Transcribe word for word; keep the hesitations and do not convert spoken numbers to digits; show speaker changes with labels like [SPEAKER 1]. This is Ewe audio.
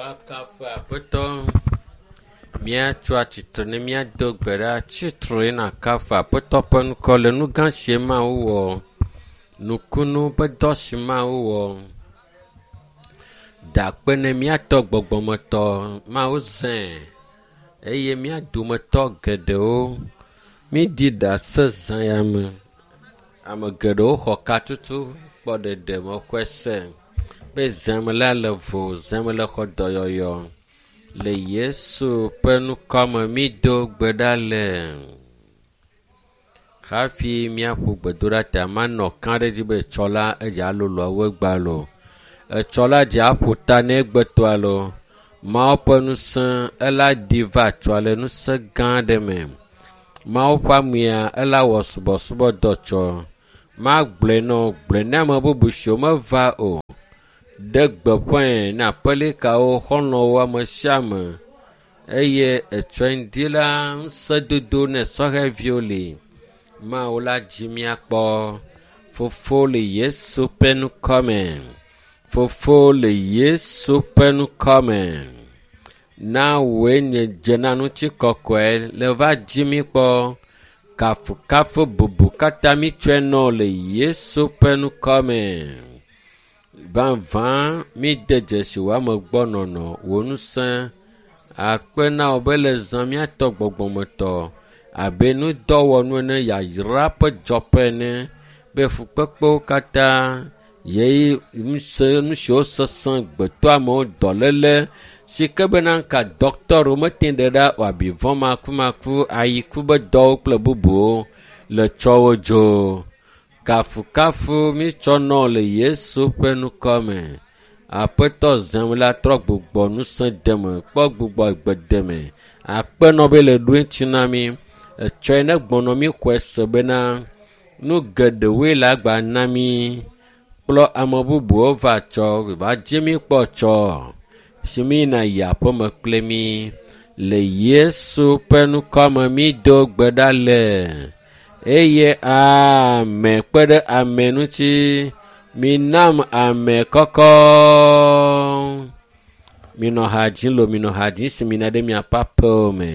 [SPEAKER 1] Woakafu Aƒetɔ. Míatso atsitre ne míado gbe ɖa. Tsitre nakafu Aƒetɔ ƒe ŋkɔ le nu gã si Mawu wɔ. Nukunu ƒe dɔ si Mawu wɔ. Da akpe ne míatɔ gbɔgbɔmetɔ Mawu zãe eye mía dometɔ geɖewo míɖi ɖase zã ya me. Ame geɖewo xɔ katutu kpɔ ɖeɖe mexɔe se be zãme la le vo, zãme le xɔ dɔyɔyɔ. Le Yesu ƒe ŋkɔme mído gbe ɖa le. Hafi míaƒo gbedoɖa ta manɔ kã ɖe edzi be etsɔ la edze alolo awu egbea loo. Etsɔ la dze aƒo ta ne egbetɔa loo. Mawu ƒe ŋusẽ ela ɖi va tsɔa le ŋusẽ gã aɖe me. Mawu ƒe amea ela wɔ subɔsubɔdɔ tsɔ. Magblɔe nɔ gblɔe ne ame bubu siwo meva o. Ɖe gbeƒãe na aƒelikawo, xɔlɔ̃wo, ame sia ame eye etsɔe ŋdi la ŋusẽdodo ne sɔhɛviwo li. Mawu la dzi míakpɔ. Fofo le Yesu ƒe ŋkɔme. Fofo le Yesu ƒe ŋkɔme. Na wòe nye dze na ŋutikɔkɔe le va dzi mí kpɔ. Kafukafu bubu katã mítsɔe nɔ le Yesu ƒe ŋkɔme. Vavã míde dzesi wò amegbɔnɔnɔ, wò ŋusẽ. Akpe na wò be le zã míatɔ gbɔgbɔmetɔ abe nudɔwɔnu ene, yayra ƒe dzɔƒe ene be fukpekpewo katã yeyi ŋusẽ nu siwo sesẽ gbetɔamewo dɔléle si ke bena ŋka dɔkitɔwo mete ɖe ɖa o abi vɔ̃ makumaku ayiku be dɔwo kple bubuwo le tsɔwo dzo. Kafukafu mítsɔ nɔ le Yesu ƒe ŋkɔme. Aƒetɔ zãm la trɔ gbugbɔ ŋusẽ deme, kpɔ gbugbɔ gbe deme. Akpe nɔ be le ɖo eŋuti na mí. Etsɔe ne gbɔnɔ mí xɔe se bena nu geɖewoe le agba na mí. Kplɔ ame bubuwo va tsɔ, va dzi mí kpɔ tsɔ. Si mí na yi aƒeme kple mí. Le Yesu ƒe ŋkɔme mído gbe ɖa le. Eye ame kpe ɖe ame ŋuti. Minam ame kɔkɔ. Minɔ ha dzim lo, minɔ ha dzim si mina ɖe miaƒe aƒewo me.